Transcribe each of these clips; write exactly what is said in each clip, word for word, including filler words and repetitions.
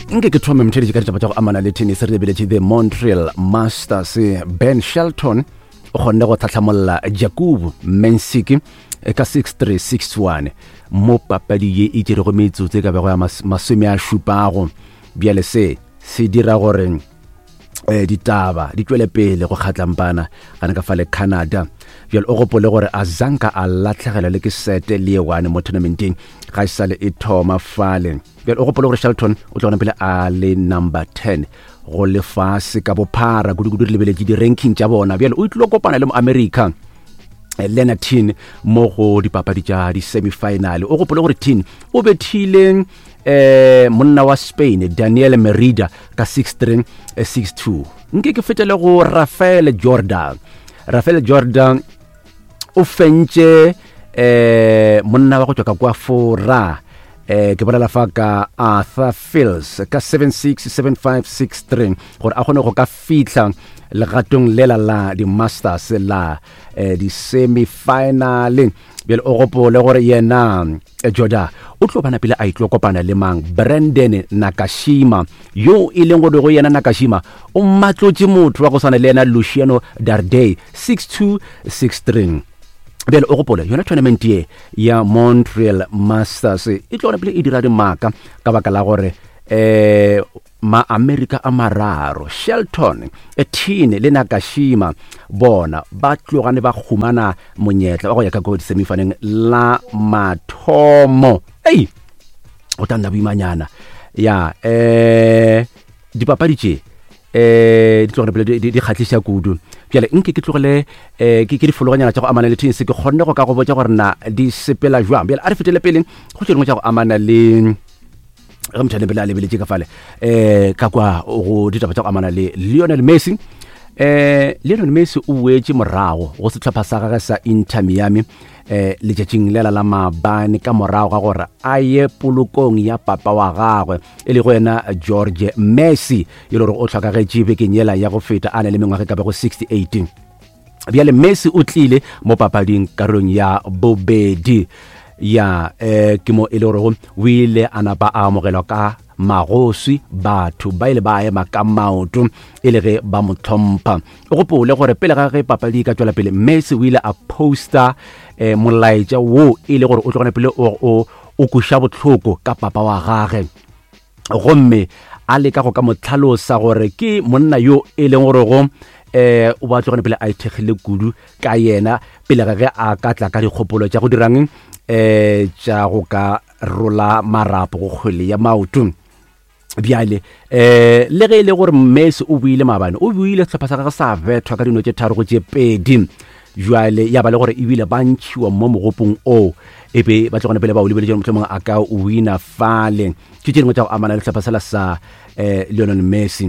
Nke ke thome, motheletši, ka ditaba tša go amana le tennis. Re lebeletše the Montreal Masters. Ben Shelton o kgonne go tlhatlhamolla Jakub Mensik ka six three, six one mo papadi ye e tšerego metsotso e ka bego ya masome a šupago. Bjale se se dira gore eh ditaba di tšwele pele go kgatlampana gana ka fale Canada. Bjale o gopole gore a zanka a latlhegelwa le ke sete le ye one mo tournamenteng ga e sale e thoma fale. Bjale o gopole gore Shelton o tla gona pele a le number ten go lefase ka bophara, kudu-kudu re lebeletše di-ranking tša bona. Bjale o tlilo kopana le mo America Leonard Tin mo go dipapadi tša di-semifinal. O gopole gore Tin o bethile eh monna wa Spain Daniel Merida ka six three, six two. Nke ke fetele go Rafael Jordan. Rafael Jordan o fentše eh monna wa go tšwa ka kwa Fora, eh ke bolela fa ka Arthur Fils, ka seven six, seven five, six three gore a kgone go ka fihla legatong lela la di-Masters la eh, di-semifinal. Bjale o gopole gore yena eh, Jordan o tlo bana pele a itlo kopana le mang? Brandon Nakashima, yo e leng gore go yena Nakashima o matlotše motho wa go swana le yena Luciano Darderi six two, six three. Bjale o gopole yona tournament ye ya Montreal Masters e tlo gona pele e dira dimaka ka baka la gore eh ma-Amerika a mararo, Shelton, Tin le Nakashima, bona ba tlogane ba humana monyetla wa go ya ka ko di-semifinaleng la mathomo. Ei, go tla nna boimanyana ya eh dipapadi tše eh di tlogele pele di kgahliša kudu. Bjale nke ke tlogele eh ke difologanyana tša go amana le tennis, ke kgonne go ka go botša gore na di sepela jwang. Bjale a re fetele pele go tše dingwe tša go amana le ge motho a pele a lebeletše ka fale um ka kwa go ditaba tša go amana le Lionel Messi. eh Lionel Messi o boetše morago go sehlopha sa gagwe sa Inter Miami eh letšatšing lela la maabane ka morago ga gore a ye polokong ya papa wa gagwe, e lego yena George Messi, e le gore o hlokagetse bekeng yela ya go feta a na le mengwaga e ka bego sixty-eight. Bjale Messi o tlile mo papading karolong ya bobedi ya eh ke mo e le gore o ile a napa a amogelwa ka magoswi, batho ba ile ba ema ka maoto e le ge ba mo tlhompha. O gopole gore pele ga ge papadi e ka tšwela pele, Messi o ile a posta eh, molaetša wo e le gore o tlogane pele o, o, o kuša bohloko ka papa wa gage, gomme a leka go ka mo tlhalosa gore ke monna yo e leng gore go eh o ba tlogane pele a ithekgile kudu ka yena pele ga ge a ka tla ka dikgopolo tša go dirang eh tša go ka rola marapo go kgwele ya maoto. Bjale eh le ge e le gore Messi o buile maabane, o buile sehlopha sa gagwe sa bethwa ka dino tše tharo go tše pedi. Jwale ya ba le gore ebile ba ntšhiwa mo mogopong o e be ba tlogane pele ba o lebeletše mohlomongwe a ka wina fale. Ke tše dingwe tša go amana le sehlopha sela sa um Lionel Messi.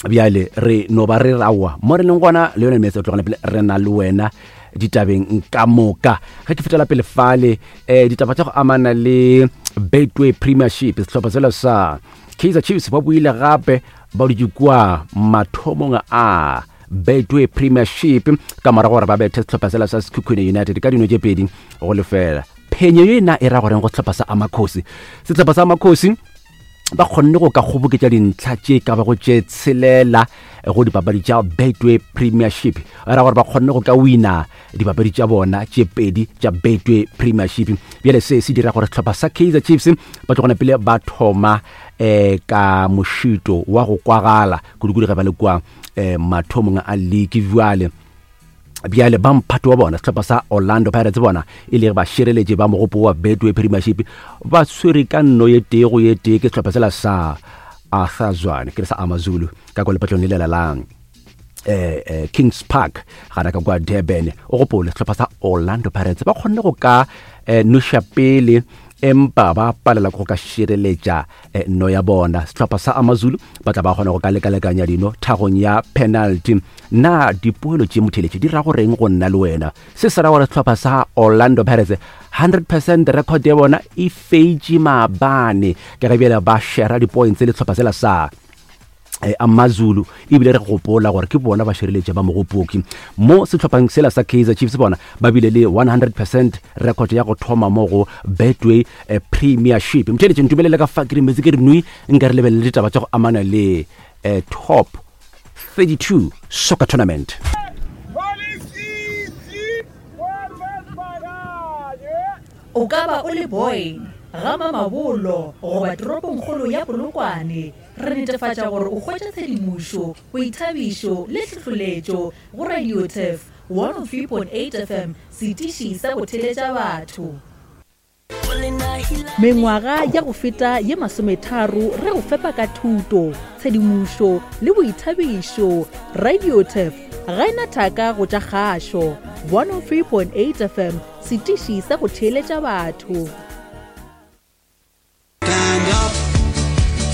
Bjale re no ba re rawa mo re leng gona, Lionel Messi o tlogane pele re na le wena ditabeng ka moka. Ge ke fetela pele fale um ditaba tša go amana le Betway Premiership, sehlopha sela sa Kaizer Chiefs ba buile gape ba dutše kua mathomong a Betway Premiership ka morago gore ba bethe sehlopha sela sa Sekhukhune United ka dino tše pedi go lefela. Phenyo ye na e ra goreng go sehlopha sa Amakhosi? Sehlopha sa Amakhosi ba kgonne go ka kgoboketša dintlha tše ka bago tše tshelela go dipapadi tša Betway Premiership, ra gore ba kgonne go ka wina dipapadi tša bona tše pedi tša Betway Premiership. Bjale se se dira gore sehlopha sa Kaizer Chiefs ba tlogone pele ba thoma um ka mošito wa go kwagala kudu-kudu ge ba le kua um mathomong a league. Bjale bjale ba mphato wa bona, sehlopha sa Orlando Pirates, bona e le ba šireletše ba mogopo wa Betway Premiership, ba tshwere ka nno ye tee go ye tee ke sehlopha sela sa Arthur Zwane, ke re sa Amazulu, ka kwa lepatlong le lela la eh, eh, Kings Park gana ka kwa Durban. O gopole sehlopha sa Orlando Pirates ba kgonne go ka eh, noša pele, empa ba palela go ka šireletša eh, no ya bona. Sehlopha sa Amazulu ba tla ba kgona go ka lekalekanya dino thagong ya penalty. Na dipoelo tše, motheletše, di ra goreng go nna le wena? Se se ra gore sehlopha sa Orlando Pirates hundred percent record ya bona e feitše maabane, ka ge bjale ba shera di-points le sehlopha sela sa Amazulu ebile re gopola gore ke bona ba šireletše ba mogopoki mo sehlopheng sela sa Kaizer Chiefs. Bona ba bile le one hundred percent record ya go thoma mo go Betway Premiership. Mtheletše ntumelele ka fa ke re metsi ke re nui nka re lebelele ditaba tša go amana le eh, top thirty-two soccer tournament. O ka ba o le boy ga Mamabolo goba toropongkgolo ya Polokwane, re netefatša gore o hwetša tshedimošo, boithabišo le tlhohleletšo go Radio Turf one oh three point eight F M, setiši sa go theletša batho. Mengwaga ya go feta ye masometharo re go fepa ka thuto, tshedimošo le boithabišo. Radio Turf ga ena thaka go tša kgašo. one oh three point eight F M, setiši sa go theeletša batho. Stand up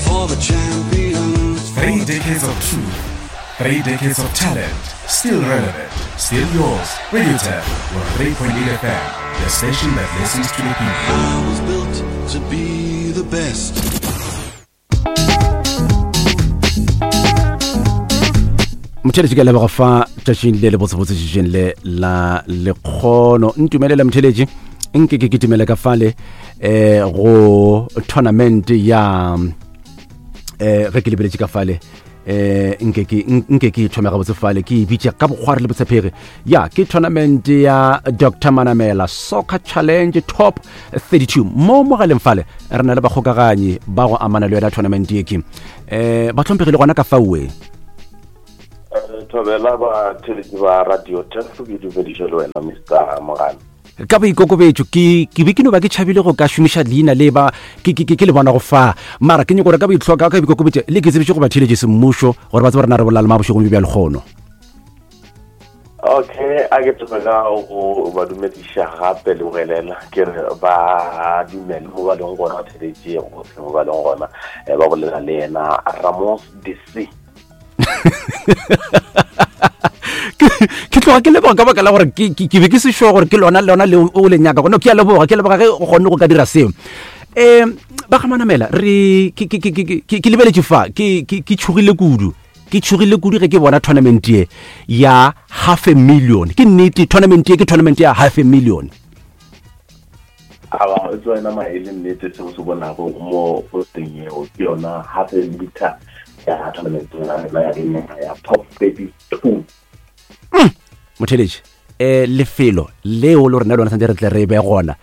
for the champions. Three decades of truth, three decades of talent, still relevant, still yours. Radio Turf one oh three point eight F M, the station that listens to the people. I was built to be the best. Mtheletši ke leboga fa tšatšing le le botsebotse tšatšing le la lekgono. Ntumelele mtheletši nke ke kitimele ka fale eh go tournament ya eh ge ke lebeletše ka fale eh nke ke nke ke thome gabotse fale ke e bitša ka bokgwari le botshepegi. Ya ke tournament ya Doctor Manamela Soccer Challenge Top thirty-two. Mo mogaleng fale re na le bakgokaganyi ba go amana le yona tournament ye ke eh ba hlomphegile gona ka fawe. Thobela ba theletši ba Radio Turf, ke dumediše le wena Mister Mogane. Ka boikokobetšo ke ke be ke no ba ke tšhabile go ka šomiša leina le ba ke ke ke le bona go fa mara ke nyako gore ka boitlhoka ka boikokobetšo le ke tsebiše go ba theletše semmušo gore ba tsebe rena re bolela le mabošegong bjo bja lekgono. Okay, a ke tsebe ka go ba dumediša gape le bogelela ke re ba dumele mo ba leng gona ba theletše gohle mo ba leng gona ba bolela le yena Ramos D C. Ke tloga ke leboga ka baka la gore ke be ke se sure gore ke lona lona le o le nyaka gona. Ke a leboga, ke leboga ge o kgonne go ka dira seo. Um ba ga Manamela re ke ke ke ke lebeletše fa ke ke ke tšhogile kudu, ke tšhogile kudu ge ke bona tournament ye ya half a million. Ke nnete tournament ye ke tournament ya half a million. Aba e tswa ena maele nnete seo se bonago mo posteng yeo ke yona half a liter ya tournament ya top thirty-two. Motheletši eh lefelo leo le rena lona santse re tle re be gona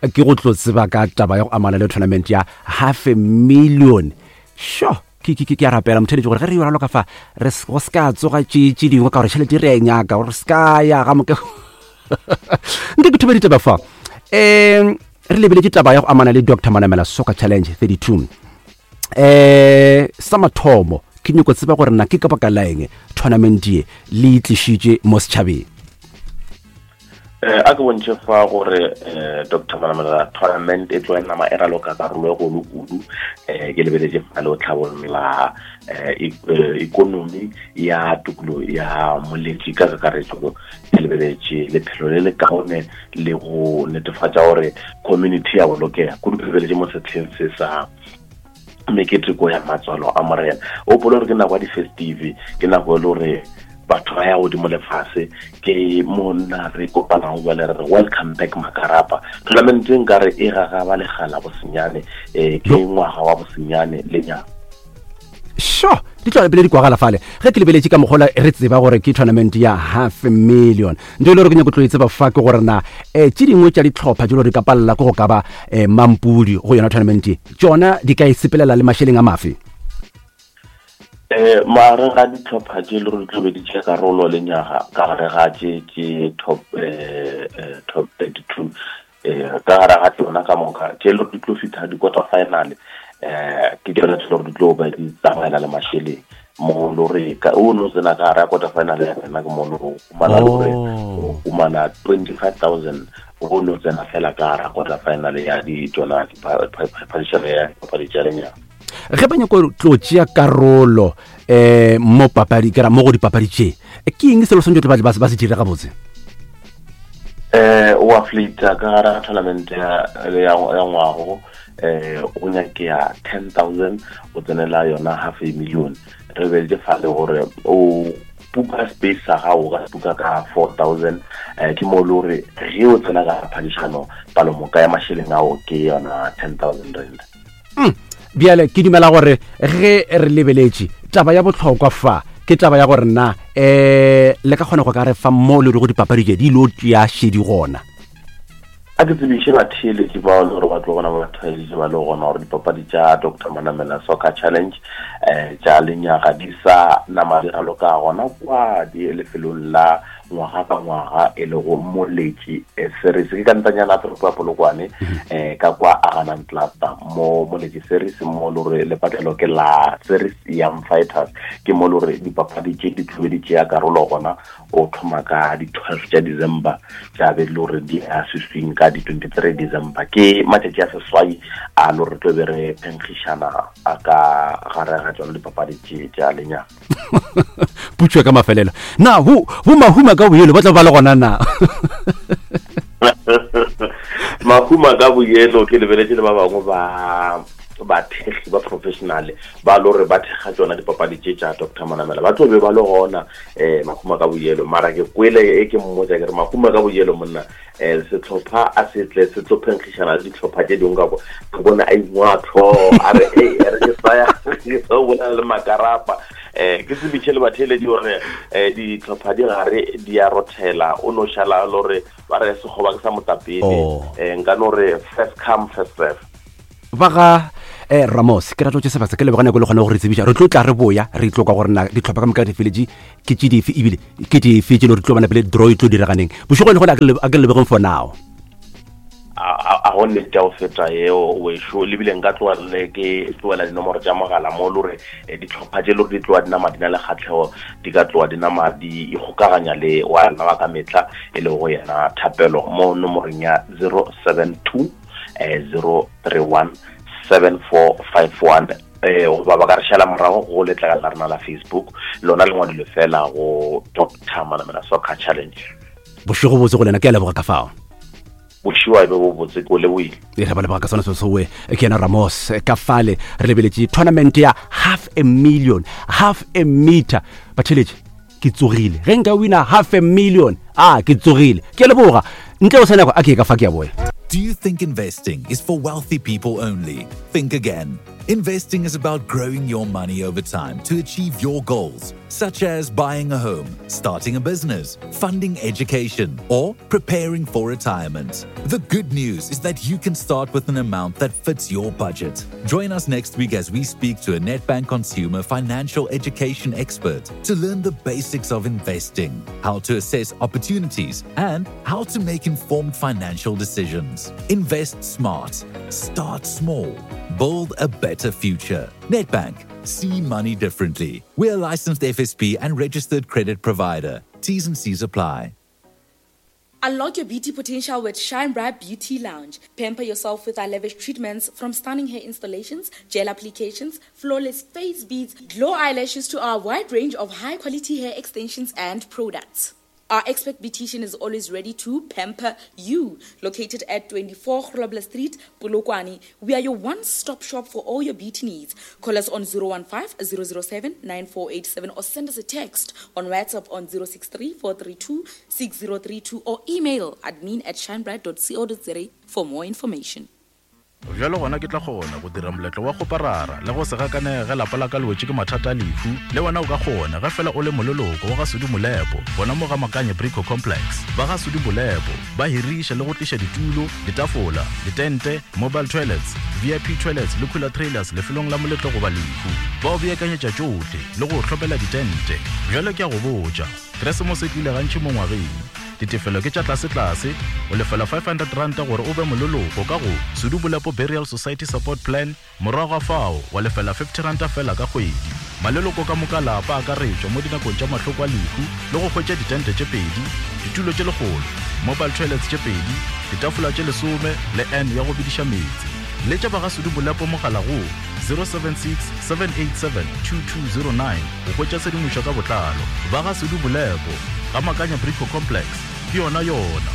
ke go tlo tseba ka taba ya go amana le tournament ya half a million. Sure, ke ke ke a rapela motheletši gore ge re yona loka fa re go ska tsoga tše tše dingwe ka gore tšhelete re e nyaka gore ska ya ga moke. Nke ke thome ditaba fa um re lebeletše taba ya go amana le Doctor Manamela Soccer Challenge thirty-two. Eh sa mathomo ke nyako tseba gore na ke ka baka la eng tournament ye le tlišitše mo setšhabeng. Eh a ke bontšhe fa gore eh Doctor Manamela tournament e tlo nama e raloka karolo e golo kudu. Eh ke lebeletše fa le o tlhabolla eh economy ya tokolo ya moletši ka kakaretso, ke lebeletše lephelo le le kaone le go netefatša gore community ya bolokega kudu. Ke lebeletše mo setlheng se sa meketeko ya matswalo a morena. O polo gore ke nako ya di-festive, ke nako e le gore batho ba ya godimo lefase, ke monna re kopanang jale re re welcome back makarapa. Tournament e nkare e gagaba legala bosenyane, um ke ngwaga wa bosenyane le nyaka. Sure, di tlo pele di kwagala fale ge ke lebeletše ka mogola re tseba gore ke tournament ya half a million. Ntho e le gore ke nyako tlo e tseba fa ke gore na um tše dingwe tša ditlhopha tše di ka palela ke go ka ba um mampudi go yona tournament ye tšona di ka e sepelela le mašeleng a mafe. Eh magareng ga ditlhopha tše le gore di tlo be di tšea karolo le nyaga ka gare ga tše tše top eh top thirty-two eh ka gare ga tsona ka moka tše le gore di tlo fihla di-quarter final eh ke tsona tše le gore di tlo ba di tsamaela le mašeleng mo le gore o no tsena ka gare ga quarter final ya rena ke mo le gore o humana le gore o humana twenty-five thousand o no tsena fela ka gare ga quarter final ya di tsona diphadišano ya dipapadi tša lenyaga. Ge ba nyako tlo tšea karolo eh mo papadi ke ra mo go dipapadi tše ke eng selo santse ba ba se dire gabotse? Eh o a flita ka gare ga tournament ya ya ngwago um go nyakea ten thousand go tsenela yona half a million. Re beleditše fale gore o buka space sa gago ka buka ka four thousand, um ke mo le gore ge o tsena ka phadišano palomoka ya mašeleng ao ke yona ten thousand rand. Bjale ke dumela gore ge re lebeletše taba ya bohlokwa fa ke taba ya gore na um le ka kgona go ka re fa mo le go dipapadi tše di lo tšea šedi gona. A ke tsebiše batheeletši bao le gore ba tlo bona batheeletši ba le gona gore dipapadi tša Doctor Manamela Soccer Challenge um tša lenyaga di sa nama di raloka gona kwa di lefelong la ngwaga ka ngwaga e lego Moletši Series ke ka ntanyana toropo ya Polokwane um ka kwa Aganang Cluster mo Moletši Series mo le gore lepatlelo ke la Series Young Fighters, ke mo le gore dipapadi tše di tlobe di tšea karolo gona o thoma ka di twelve tša December tša be le gore di a seswing ka di twenty-three December. Ke matšatši a seswai a le gore tlo be re phenkgišana a ka gare ga tsona dipapadi tše tša lenyaga. Putšo ka mafelelo na bo bo mahuma ka boyelo ba tla ba le gona na? Mahuma ka boyelo ke lebeletše le ba bangwe ba bathekgi ba professional ba le gore ba thekga tsona dipapadi tše tša Doctor Manamela ba tlo be ba le gona um mahuma ka boyelo. Mara ke kwele e ke mmotsa ke re mahuma ka boyelo monna um setlhopha a se tle se tlo phenkgišana le ditlhopha tše dingwe ka kwa ke bone a ingwa tlhogo a re e re ke saya ke sa bolela le makarapa. Um ke tsebiše le batheeletši gore um ditlhopha di gare di a rothela o no šala le gore ba re sekgoba ke sa motapele um nka no re first come first serve. Ba ga eh Ramos ke ratlo tše sebaka ke leboga nako le kgone go re tsebiša re tlo tla re boya re tlo kwa gore na ditlhopha ka moka di feletše ke tše dife ebile ke dife tše le re tlo bona pele draw e tlo diraganeng bošego le gona a ke lebogeng for now. A go nnete ya go feta eo wešo lebile nka tloa le ke tloela dinomoro tša mogala mo le gore ditlhopha tše le gore di tloa di nama di na le kgatlhego di ka tloa di nama di ikgokaganya le wa rena wa ka mehla e lego yena Thapelo mo nomoreng ya zero seven two zero three one seven four five one eh goba ba ka re šala morago go letlakala la rena la Facebook lona le ngwadilwe fela go Doctor Manamela Soccer Challenge. Bošego botse go lena, ke a leboga ka fao. Bošego be bo botse ko leboile. E re ba leboga ka sona se sowe ke yena Ramos ka fale re lebeletše tournament ya half a million half a meter batheletše ke tsogile ge nka wina half a million a ke tsogile ke a leboga ntle o sa nako a ke ka fa ke a boya. Do you think investing is for wealthy people only? Think again. Investing is about growing your money over time to achieve your goals, such as buying a home, starting a business, funding education, or preparing for retirement. The good news is that you can start with an amount that fits your budget. Join us next week as we speak to a Nedbank consumer financial education expert to learn the basics of investing, how to assess opportunities, and how to make informed financial decisions. Invest smart. Start small. Build a better future. Nedbank. See money differently. We're a licensed F S P and registered credit provider. T's and C's apply. Unlock your beauty potential with Shine Bright Beauty Lounge. Pamper yourself with our lavish treatments, from stunning hair installations, gel applications, flawless face beads, glow eyelashes to our wide range of high-quality hair extensions and products. Our expert beautician is always ready to pamper you. Located at twenty-four Grobler Street, Polokwane, we are your one-stop shop for all your beauty needs. Call us on zero one five, zero zero seven, nine four eight seven or send us a text on WhatsApp on zero six three, four three two, six zero three two or email admin at shinebright dot co dot za for more information. Bjalo gona ke tla kgona go dira moletlo wa go parara le go se gakanege ge lapa la ka le wetše ke mathata a lehu. Le wena o ka kgona ge fela o le moleloko wa ga Sudi Molepo gona mo ga Makanye Brico Complex. Ba ga Sudi Molepo ba hiriša le go tliša ditulo, ditafola, ditente, mobile toilets, V I P toilets le cooler trailers lefelong la moletlo goba lehu. Ba o beakanyetša tšohle le go hlopela ditente. Bjalo ke a go botša, Keresemose e tlile gantši mo ngwageng. Ditefelo ke tša tlase-tlase, o lefela five hundred rand gore o be moleloko ka go Sudi Molepo Burial Society Support Plan, morago ga fao wa lefela fifty rand fela ka kgwedi. Maleloko ka moka lapa a akaretšwa mo dinakong tša mahloko a lehu le go hwetša ditente tše pedi, ditulo tše lekgolo, mobile toilets tše pedi, ditafola tše lesome le N ya go bediša meetse. Letša ba ga Sudi Molepo mogala go zero seven six, seven eight seven, two two zero nine go hwetša tshedimošo ka botlalo. Ba ga Sudi Molepo ga Makanya Brico Complex ke yona yona.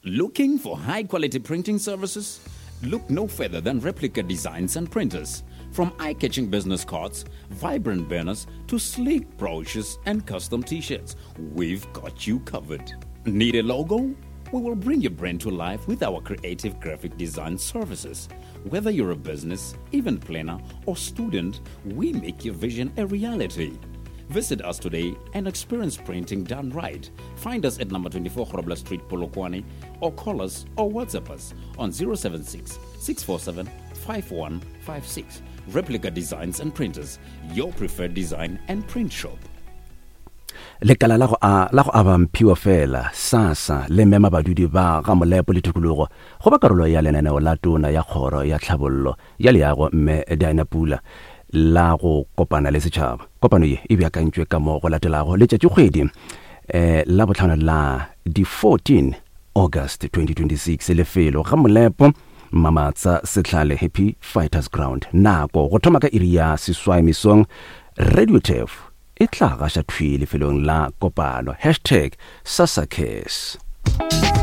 Looking for high quality printing services? Look no further than Replica Designs and Printers. From eye catching business cards, vibrant banners, to sleek brochures and custom t shirts, we've got you covered. Need a logo? We will bring your brand to life with our creative graphic design services. Whether you're a business, event planner, or student, we make your vision a reality. Visit us today and experience printing done right. Find us at number twenty-four Grobler Street, Polokwane, or call us or WhatsApp us on zero seven six, six four seven, five one five six. Replica Designs and Printers, your preferred design and print shop. Lekala la go a la go aba mphiwa fela SASSA le mema badudi ba ga Molepo le tikologo go ba karolo ya lenaneo la tona ya kgoro ya tlhabollo ya leago mme Diana Pula la go kopana le setšhaba. Kopano ye e beakantšwe ka mo go latelago letšatšikgwedi eh la botlhano la di fourteen August twenty twenty-six, lefelo ga Molepo Mamatsa Setlhale Happy Fighters Ground. Nako go thoma ka iri ya seswai mesong. Radio Turf e tla gaša thwi lefelong la kopano. Hashtag SASSA Cares.